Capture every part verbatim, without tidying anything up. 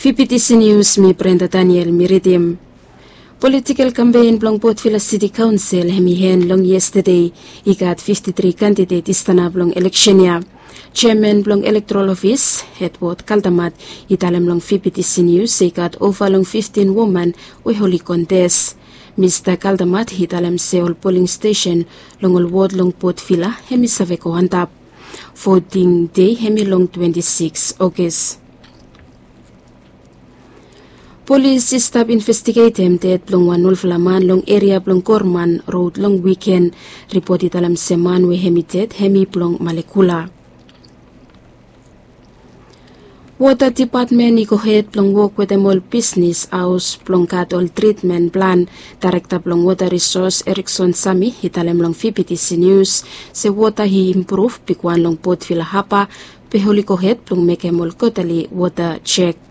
Pipitisi Nius, mi Brenda Daniel mi ridim. Politikel kampen blong Potvila Siti Kaonsel hem i hen long yestade. I gat fifti tri kandidet i stanap long eleksen ya. Jeaman blong elektorol ofis, Edward Kaldamat, i talem long Pipitisi Nius se i gat ova long fiftin woman we oli kontes. Mista Kaldamat i talem se ol poling stesen long ol wod long Potvila hem i save go antap. Voting dei hem i long twenti sikis Ogos. Polis i stap investigetem ded blong wan olfala man long eria blong Gorman rod long wiken. Ripot i talem se man we hem i ded hem i blong Malekula. Wota dipatmen i gohed blong wok wetem ol bisnis haos blong gat ol tritmen plan. Daerekta blong Wota Risos, Erikson Sami, i talem long Pipitisi Nius se wota i impruv bigwan long Potvila Haba, be oli gohed blong mekem ol kotali wota jek.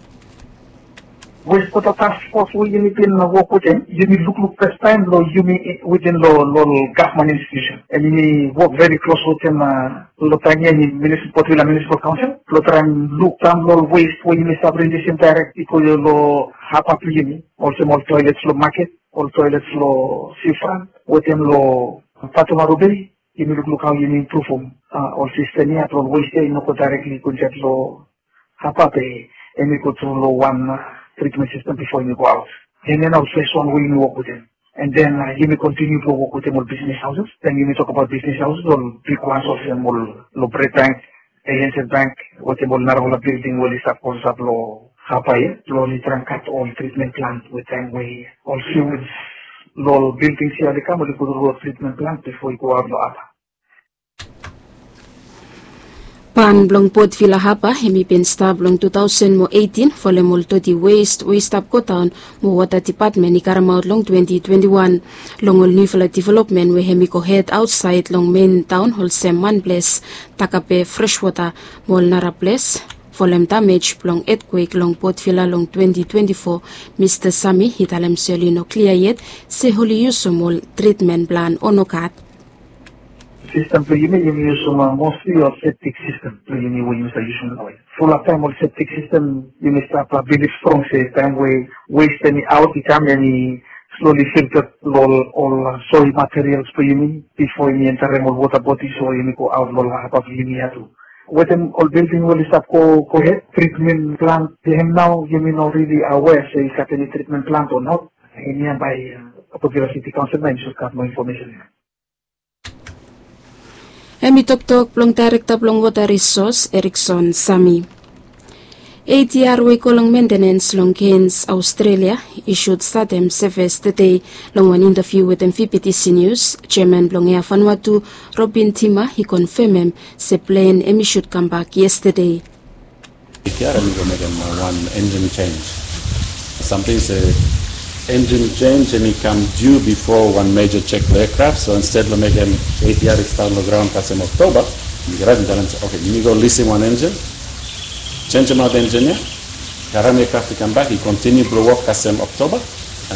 Westwota task fos we yumi bin wok wetem, yumi lukluk fastaem long yumi wetem long ol gavman institusen, and yumi wok veri klos wetem long taem ya, yumi Potvila Munisipal Kaonsel blong traem luk daon long ol west we yumi save rilisim daerek i go long haba blong yumi, olsem ol toelets long maket, ol toelets long sifrant wetem long Fatumaro Bei. Yumi lukluk hao yumi impruvum ol sistem ya blong ol west ya i no go daerekli go insaed long haba be hem i go tru long wan tritmen sistem bifo hem i go aot. Hemia nao fes wan we yumi wok wetem. And then yumi kontiniu blong wok wetem ol bisnis haoses. Taem yumi tokbaot bisnis haoses, ol bigwan olsem ol long Bred Bank, A N Z Bank, wetem ol narafala bilding we oli stap klosap long haba ya, blong oli traem gat ol tritmen plant we taem we ol siwij long ol bildings ya oli kam, oli go tru long tritmen plant bifo i go aot long haba. Ban blong Potvila Haba hem i bin stap long tu taosen mo eitin folem ol doti west we i stap godaon mo Wota Dipatmen i karemaot long twenti twenti wan. Long ol niufala developmen we hem i gohed aotsaed long mein taon olsem Manples, Takape, Freswota mo ol nara ples folem damej blong etkwek long Potvila long twenti twenti fo, Mista Sami i talem se oli no klia yet se oli yusum ol tritmen plan o nogat. Sistem blong yumi, yumi yusum mostli ol septik sistem blong yumi we yumi save yusum naoia. Fulap taem ol septik sistem yumi stap bilif strong se taem we west hem i aot i kam, hem i sloli filta long ol soil materials blong yumi bifo yumi enterem ol wota bodis o yumi go aot long haba blong yumi ya tu. Wetem ol bilding we oli stap go gohed, tritmen plant, hem nao yumi no rili awea se i gat eni tritmen plant o not. Hemia bae Potvila Siti Kaonsel nao hem i sud gat moa infomesen ya. Hem i toktok blong daerekta blong Wota Risos, Erikson Sami. A D R we i go long mentenens long Cairns, Australia, i sud statem sevis tede. Long wan intaviu wetem P P T C News, jeaman blong Air Vanuatu, Robin Tima, i konfemem se plen hem i sud kambak yestede. A D R hem i go mekem wan enjin jenj. Samting se enjin jenj hem i kam diu bifo wan meja jek blong eakraf, so insted blong mekem A D R i stat long graon kasem Oktoba, yumi go raet, yumi talem se, oke, yumi go lisim wan enjin, jenjemaot enjin ya, karem eakraf i kambak, i kontiniu blong wok kasem Oktoba,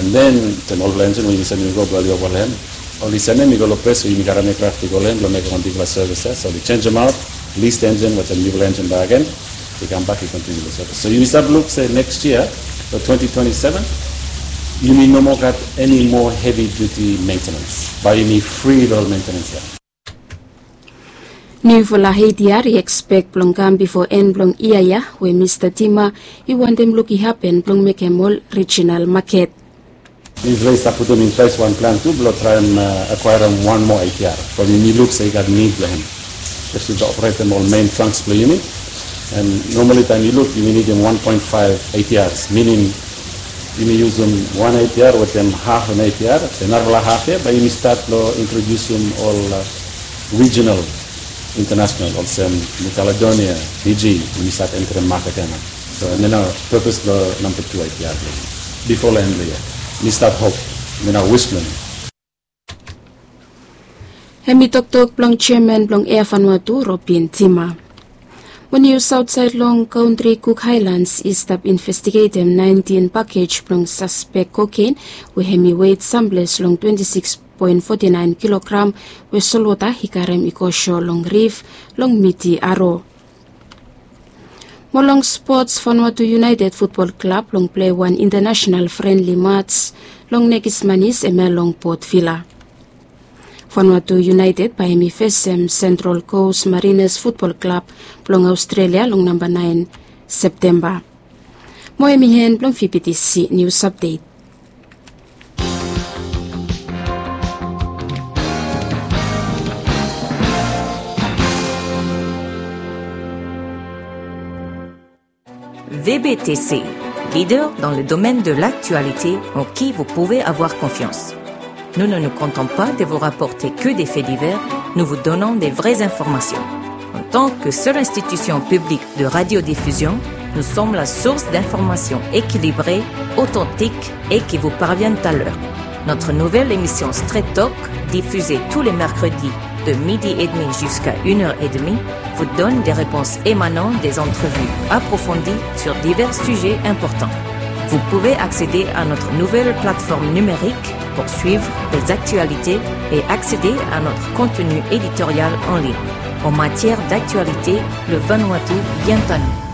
and then, then olfala enjin we yumi salim i go blong oli wok long hem. Oli salim i go long ples we yumi karem eakraf i go long hem blong mekem wan bigfala sevis ya. So oli jenjemaot, lis enjin wetem niufala enjin bakegen, i kambak i kontiniu long sevis. So yumi stap luk se neks yia, long twenti twenti seven, yumi no moa gat eni moa hevi diuti mentenens. Bae yumi fri long ol mentenens ya. Niufala A D R i ekspek blong kam bifo en blong yia ya, we Mista Tima i wantem luk i hapen blong mekem ol rijinal maket. Niufala i stap putum in ples wan plan tu blong traem akwaerem wan moa A D R. From yumi luk se i gat nid blong hem. Espeseli blong operetem ol mein tranks blong yumi. And normali taem yu luk, yumi nidim wan poen faef A D Rs, minim yumi yusum wan A D R wetem haf an A D R, narafala haf ya bae yumi stat long introdiusim ol rijinal, intanasonal, olsem Niu Kaledonia, Fiji, yumi stat enterem maket ya nao. So hemia nao pepes blong namba tu A D R blong yumi. Bifo long en blong yia, mi stat hop, hemia nao wis blong mi. Hem i toktok blong jeaman blong Air Vanuatu, Robin Tima. Mo nius aotsaed long kantri, Cook Highlands i stap investigetem naentin pakej blong saspek koken we hem i wet samples long twenti sikis poen foti naen kilogram we solwota i karem i go sho long rif long Miti Aro. Mo long spots, Vanuatu United Futbol Klab long plei wan international friendly match long nekis manis, hemia long Port Vila. Vanuatu United bae hemi fesem Central Coast Mariners Futbol Klab blong Aostrelia long namba naen Septemba. Mo hemi en blong V B T C News Update. V B T C, leader dans le domaine de l'actualité en qui vous pouvez avoir confiance. Nous ne nous contentons pas de vous rapporter que des faits divers, nous vous donnons des vraies informations. En tant que seule institution publique de radiodiffusion, nous sommes la source d'informations équilibrées, authentiques et qui vous parviennent à l'heure. Notre nouvelle émission Straight Talk, diffusée tous les mercredis de midi et demi jusqu'à une heure et demie, vous donne des réponses émanant des entrevues approfondies sur divers sujets importants. Vous pouvez accéder à notre nouvelle plateforme numérique pour suivre les actualités et accéder à notre contenu éditorial en ligne. En matière d'actualité, le Vanuatu vient à nous.